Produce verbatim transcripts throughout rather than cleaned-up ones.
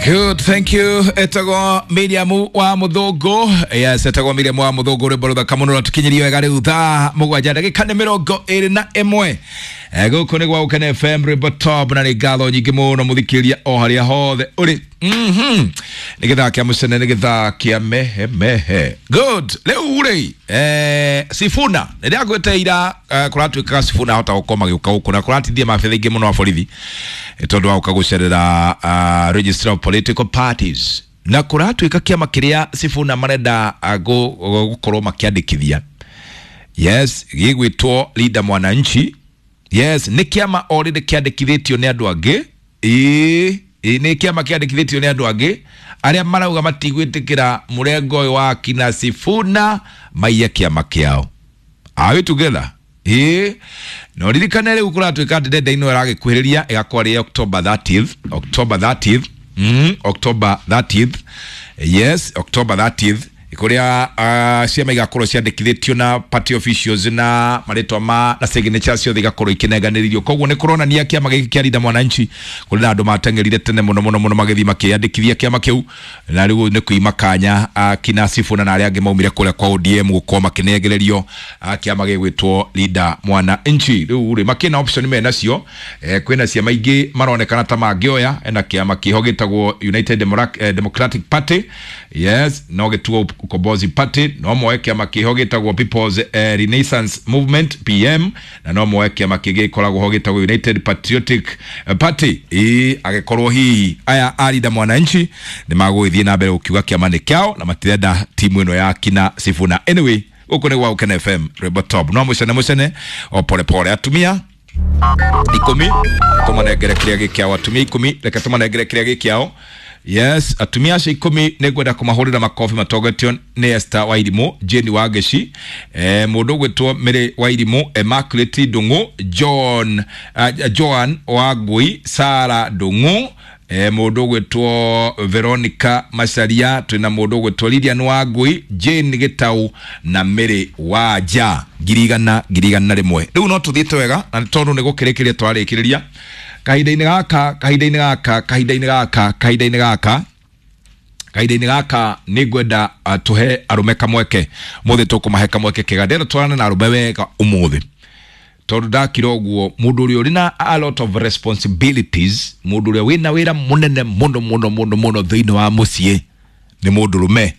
Good, thank you. Etagwo Miriam wa Muthungu. Yes, etagwo Miriam wa Muthungu rwimbo ruthaka muno ratukinyirie wega riu thaa mugwanja ndagika nĩ mĩrongo ĩrĩ na ĩmwe. Eh, gũkũ nĩ gwa Gũkena F M rwimbo top, na nĩ ngatho nyingĩ mũno mũthikĩrĩria o harĩa hothe ũrĩ. Mhm. Nĩ gĩthaa kĩa mũcene, nĩ gĩthaa kĩa mehe mehe. Good. Rĩu rĩ, eh, Sifuna nĩ ndĩrakwĩte ira, eh, kũratuĩkaga Sifuna ahota gũkorwo magĩũka gũkũ na kũratithia mabitha aingĩ mũno a borithi tondũ wa gũka gũcerera, uh, Registrar of Political Parties, na kũratuĩka kĩama kĩrĩa Sifuna marenda, uh, gũ-, gũkorwo makĩandĩkithia, yes, gĩgwĩtwo Linda Mwananchi. Yes, nĩ kĩama already kĩandĩkithĩtio nĩ andũ angĩ. Ĩĩ, ĩĩ, nĩ kĩama kĩandĩkithĩtio nĩ andũ angĩ arĩa marauga matigwĩtĩkĩra mũrengo ũyũ wa kina Sifuna maiye kĩama kĩao. Are we together? Ĩĩ, no ririkane rĩu kũratuĩka atĩ deadline ĩno ĩragĩkuhĩrĩria, ĩgakorwo ĩrĩ October thirtieth, October thirtieth, mm, October thirtieth, yes, October thirtieth, kũrĩa, uh, ciama igakorwo ciandĩkithĩtio na party officials na marĩtwa ma na signature ciothe igakorwo ikĩnenganĩrĩrio. Koguo nĩ kũronania kĩama gĩkĩ kĩa Linda Mwananchi kũrĩ na andũ mateng'erire tene mũno mũno mũno magĩthiĩ makĩyandĩkithia kĩama kĩu, na rĩu nĩ kuima kanya, uh, kina Sifuna na arĩa angĩ maumire kũrĩa kwa O D M gũkorwo makĩnengererio, uh, kĩama gĩgwĩtwo Linda Mwananchi. Rĩu rĩ makĩna option menacio, eh, kwĩna ciama ingĩ maronekana ta mangĩoya, ena kĩama kĩho gĩtagwo United Democratic, eh, Democratic Party, yes, no gĩtuo Ukombozi Party, no moe kĩama kĩho gĩtagwo People's, eh, Renaissance Movement P M, na no moe kĩama kĩngĩ gĩkoragwo ho gĩtagwo United Patriotic Party. Ĩ, agĩkorwo hihi aya a Linda Mwananchi nĩ magũgĩthiĩ na mbere gũkiuga kĩama nĩ kĩao na matirenda timu ĩno ya kina Sifuna. Anyway, gũkũ nĩ gwa Gũkena F M rwimbo top, no mũcene mũcene o pole pole. Atumia ikũmi tũmanengere kĩrĩa gĩkĩao, atumia ikũmi reke tũmanengere kĩrĩa gĩkĩao. Yes, atumia acio ikũmi nĩ ngwenda kũmahũrĩra makobi matongoretio nĩ Esther Wairimũ, Jane Wangeci, eh, mũndũ ũgwĩtwo Mary Wairimũ, Immaculate Ndung'u, John, uh, Joan Wangui, Sarah Ndung'u, eh, mũndũ ũgwĩtwo Veronica Macharia, twĩna mũndũ ũgwĩtwo Lilian Wangui, Jane Gitau na Mary Wanja. Ngiri igana, ngiri igana na rĩmwe. Rĩu no tũthiĩte wega na nĩ tondũ nĩ gũkĩrĩkĩria twarĩkĩrĩria kahinda-inĩ gaka, kahinda-inĩ gaka, kahinda-inĩ gaka, kahinda-inĩ gaka, kahinda-inĩ gaka nĩ ngwenda, uh, tũhe arũme kamweke. Ũmũthĩ tũkũmahe kamweke kega. Ndĩrenda twarane na arũme wega ũmũthĩ, tondũ ndakira ũguo mũndũ ũrĩa ũrĩ na a lot of responsibilities, mũndũ ũrĩa wĩna wĩra mũnene mũno mũno mũno mũno thĩinĩ wa mũciĩ nĩ mũndũrũme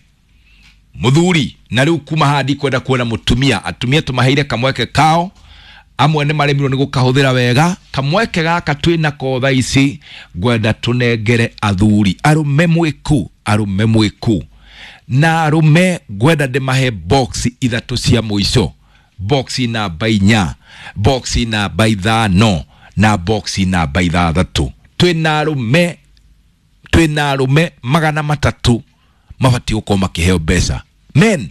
mũthuri. Na rĩu kuma haha ndikwenda kuona mũtumia. Atumia tũmaheire kamweke kao, amwe nĩ maremirwo nĩ gũkahũthĩra wega. Kamweke gaka twĩnako thaa ici ngwenda tũnengere athuri, arũme mwĩku, arũme mwĩku na arũme ngwenda ndĩmahe box ithatũ cia mũico, box namba inya, box namba ithano na box namba ithathatũ. Twĩna arũme, twĩna arũme magana matatũ mabatiĩ gũkorwo makĩheo mbeca. Men,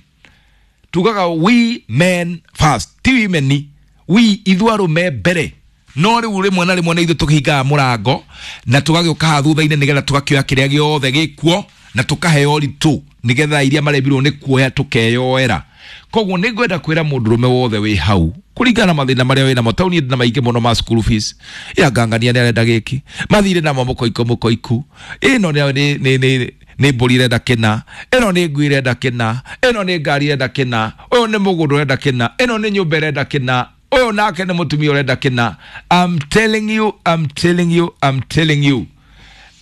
tugaga we men first, ti women, we ithuĩ arũme mbere. No rĩu rĩmwe na rĩmwe nĩ ithuĩ tũkĩhingaga mũrango na tũgagĩũka haha thutha-inĩ nĩgetha tũgakĩoya kĩrĩa gĩothe gĩkuo na tũkaheo ritũ nĩgetha iria maremirwo nĩ kuoya tũkeyoera. Koguo nĩ ngwenda kwĩra mũndũrũme wothe wĩ hau kũringana na mathĩna marĩa wĩnamo, tondũ niĩ ndĩna maingĩ mũno ma school fees, ya ngangania nĩ arenda gĩkĩ, mathirĩ namo mũkoiko mũkoiku, ĩno nĩ, nĩ, nĩ, nĩ, nĩ mbũri ĩrenda kĩna, ĩno nĩ ngui ĩrenda kĩna, ĩno nĩ ngari ĩrenda kĩna, ũyũ nĩ mũgũnda ũrenda kĩna, ĩno nĩ nyũmba ĩrenda kĩna, ũyũ nake nĩ mũtumia ũrenda kĩna. I'm telling you, I'm telling you, I'm telling you.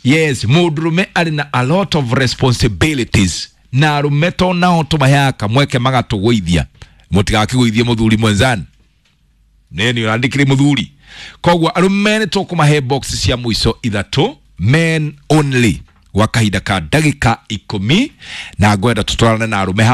Yes, mũndũrũme arĩ na a lot of responsibilities, na arũme to nao tũmaheaga kamweke magatũgũithia. Mũtigakĩgũithie mũthuri mwenzani, nĩ ũrandĩkĩre mũthuri. Koguo arũme nĩ tũkũmahe box cia mũico ithatũ, men only, gwa kahinda ka ndagĩka ikũmi, na ngwenda tũtwarane na arũme.